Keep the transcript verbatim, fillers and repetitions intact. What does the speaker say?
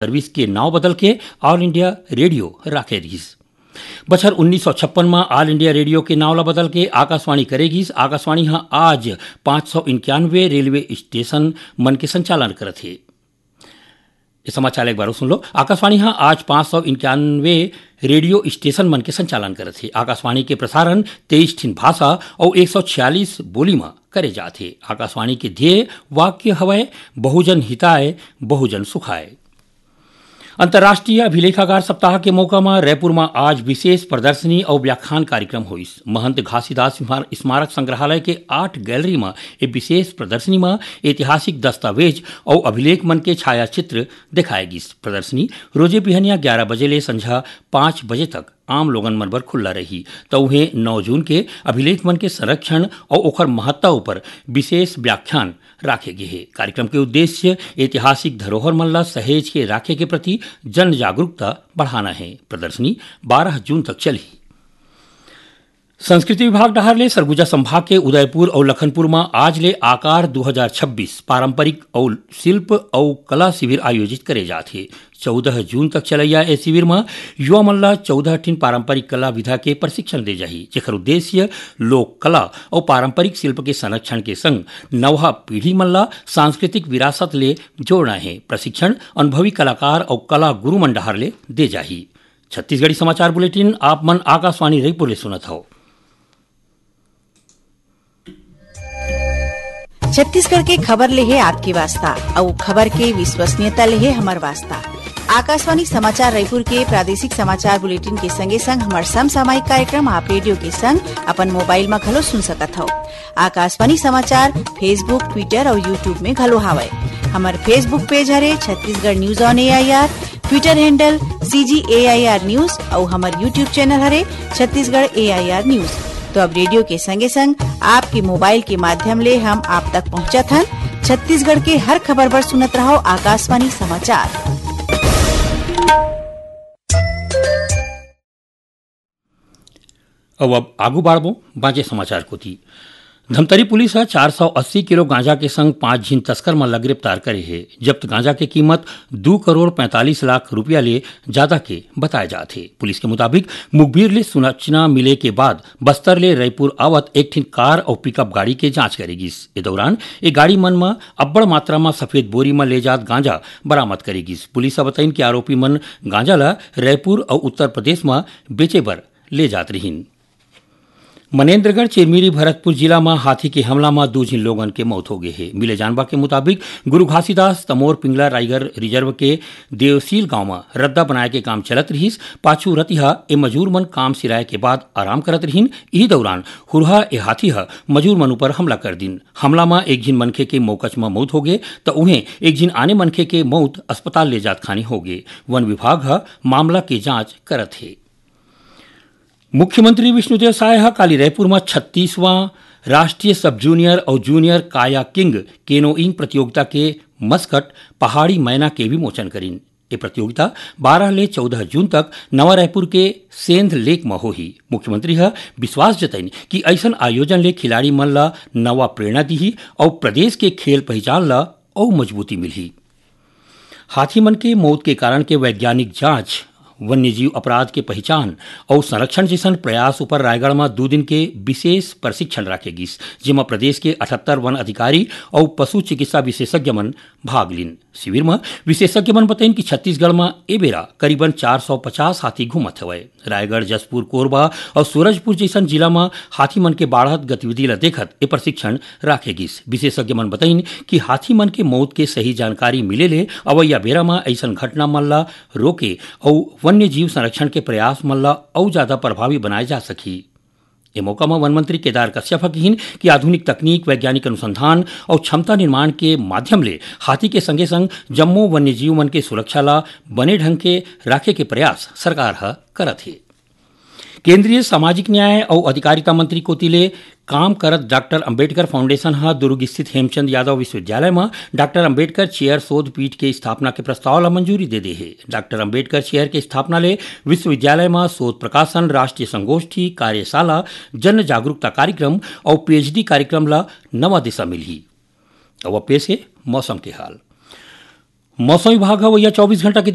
Service के नाव बदल के ऑल इंडिया रेडियो राखे रिहिस। बछर उन्नीस सौ छप्पन म ऑल इंडिया रेडियो के नाव ला बदल के आकाशवाणी करे गिस। आकाशवाणी ह आज पाँच सौ इक्यानवे रेलवे स्टेशन मन के संचालन करत हे। ये समाचार एक बार सुन लो। आकाशवाणी ह आज पाँच सौ इक्यानवे रेडियो स्टेशन मन के संचालन करत हे। आकाशवाणी के प्रसारण तेईस ठिन भाषा अउ एक सौ छियालीस बोली म करे जात हे। आकाशवाणी के ध्येय वाक्य हवय, बहुजन हिताय, बहुजन सुखाय। अंतर्राष्ट्रीय अभिलेखागार सप्ताह के मौका म रायपुर म आज विशेष प्रदर्शनी अउ व्याख्यान कार्यक्रम होइस। महंत घासीदास स्मार-, स्मारक संग्रहालय के आर्ट गैलरी म ए विशेष प्रदर्शनी म ऐतिहासिक दस्तावेज अउ अभिलेख मन के छायाचित्र देखाए गिस। प्रदर्शनी रोजे बिहनिया ग्यारह बजे ले संझा पाँच बजे तक आम लोगन मन बर खुल्ला रही। त उहें नौ जून के अभिलेख मन के संरक्षण अउ ओखर महत्ता ऊपर विशेष व्याख्यान राखे गे हे। कार्यक्रम के उद्देश्य ऐतिहासिक धरोहर मन ला सहेज के राखे के प्रति जन जागरूकता बढ़ाना हे। प्रदर्शनी बारह जून तक चलही। संस्कृति विभाग डहार ले सरगुजा संभाग के उदयपुर अउ लखनपुर म आज ले आकार दू हजार छब्बीस पारंपरिक अउ शिल्प अउ कला शिविर आयोजित करे जात हे। चौदह जून तक चलैया ए शिविर म युवा मन ला चौदह ठिन पारंपरिक कला विधा के प्रशिक्षण दे जाही, जेकर उद्देश्य लोक कला अउ पारंपरिक शिल्प के संरक्षण के संग नवहा पीढ़ी मन ला सांस्कृतिक विरासत ले जोड़ना हे। प्रशिक्षण अनुभवी कलाकार अउ कला गुरु मन डहार ले दे जाही। छत्तीसगढ़ी समाचार बुलेटिन आप मन आकाशवाणी रायपुर ले सुनत हव। छत्तीसगढ़ के खबर ले हे आपके वास्ता, अउ खबर के विश्वसनीयता ले हे हमर वास्ता। आकाशवाणी समाचार रायपुर के प्रादेशिक समाचार बुलेटिन के संगे संग हमर समसामयिक कार्यक्रम आप रेडियो के संग अपन मोबाइल म घलो सुन सकत हव। आकाशवाणी समाचार Facebook, Twitter अउ YouTube में घलो हावय। हमर Facebook पेज हरे Chhattisgarh news on AIR, Twitter handle CG AIR news अउ हमर YouTube चैनल हरे छत्तीसगढ़ एआईआर न्यूज। तो अब रेडियो के संगे संग आपके मोबाइल के माध्यम ले हम आप तक पहुंचत हन। छत्तीसगढ़ के हर खबर बर सुनत रहव आकाशवाणी समाचार। अउ अब आगू बाढ़बो बांचे समाचार कोति। धमतरी पुलिस ह चार सौ अस्सी किलो गांजा के संग पांच झिन तस्कर मन ला गिरफ्तार करे हे। जब्त गांजा के कीमत दू करोड़ पैंतालीस लाख रुपया ले जादा के बताए जात हे। पुलिस के मुताबिक, मुखबिर ले सूचना मिले के बाद बस्तर ले रायपुर आवत एक ठिन कार अउ पिकअप गाड़ी के जांच करे गिस। ए दौरान ए गाड़ी मन म अब्बड़ मात्रा म सफेद बोरी म ले जात गांजा बरामद करे गिस। पुलिस ह बताइन कि आरोपी मन गांजा ला रायपुर अउ उत्तर प्रदेश म बेचे बर ले जात रिहिन। मनेन्द्रगढ़ चिरमिरी भरतपुर जिला म हाथी के हमला म दू झिन लोगन के मौत हो गे हे। मिले जानबा के मुताबिक, गुरु घासीदास तमोर पिंगला राइगर रिजर्व के देवसील गांव म रद्दा बनाए के काम चलत रिहिस। पाछू रतिहा ए मजूर मन काम सिराए के बाद आराम करत रिहिन। इही दौरान हुरहा ए हाथी ह मजूर मन ऊपर हमला कर दिन। हमला म एक झिन मनखे के मौकच म मौत हो गे, त उहें एक झिन आने मनखे के मौत अस्पताल ले जात खानी हो गे। वन विभाग ह मामला के जांच करत हे। मुख्यमंत्री विष्णुदेव साय ह काली रायपुर म छत्तीसवां राष्ट्रीय सब जूनियर अउ जूनियर कायाकिंग केनोइंग प्रतियोगिता के मस्कट पहाड़ी मैना के विमोचन करिन। ए प्रतियोगिता बारह ले चौदह जून तक नवा रायपुर के सेंध लेक म होही। मुख्यमंत्री ह विश्वास जतइन कि अइसन आयोजन ले खिलाड़ी मन ल नवा प्रेरणा दिही अउ प्रदेश के खेल पहिचान ल अउ मजबूती मिलही। हाथी मन के मौत के कारण के वैज्ञानिक जांच, वन्यजीव अपराध के पहिचान अउ संरक्षण जइसन प्रयास ऊपर रायगढ़ म दू दिन के विशेष प्रशिक्षण राखे गिस, जेमा प्रदेश के अठहत्तर वन अधिकारी अउ पशु चिकित्सा विशेषज्ञ मन भाग लीन। शिविर म विशेषज्ञ मन बतइन कि छत्तीसगढ़ म ए बेरा करीबन चार सौ पचास हाथी घूमत हवय। रायगढ़, जशपुर, कोरबा अउ सूरजपुर जइसन जिला म हाथी मन के बाढ़त गतिविधि ल देखत ए प्रशिक्षण राखे गिस। विशेषज्ञ मन बतइन कि हाथी मन के मौत के सही जानकारी मिले ले अवइया बेरा म अइसन घटना मन ल रोके अउ वन्य जीव संरक्षण के प्रयास मन ल अउ जादा प्रभावी बनाए जा सकही। ए मौका म वन मंत्री केदार कश्यप ह किहिन कि आधुनिक तकनीक, वैज्ञानिक अनुसंधान अउ क्षमता निर्माण के माध्यम ले हाथी के संगे संग जम्मो वन्य जीव मन के सुरक्षा ल बने ढंग के राखे के प्रयास सरकार ह करत हे। केंद्रीय सामाजिक न्याय अउ अधिकारिता मंत्री कोति ले काम करत डॉक्टर अंबेडकर फाउंडेशन ह दुर्ग स्थित हेमचंद यादव विश्वविद्यालय म डॉक्टर अंबेडकर चेयर शोध पीठ के स्थापना के प्रस्ताव ल मंजूरी दे दे हे। डॉक्टर अंबेडकर चेयर के स्थापना ले विश्वविद्यालय म शोध प्रकाशन, राष्ट्रीय संगोष्ठी, कार्यशाला, जन जागरूकता कार्यक्रम अउ पीएचडी कार्यक्रम ल नवा दिशा मिलही। अब पेश हे मौसम के हाल। मौसम विभाग ह अवइया चौबीस घंटा के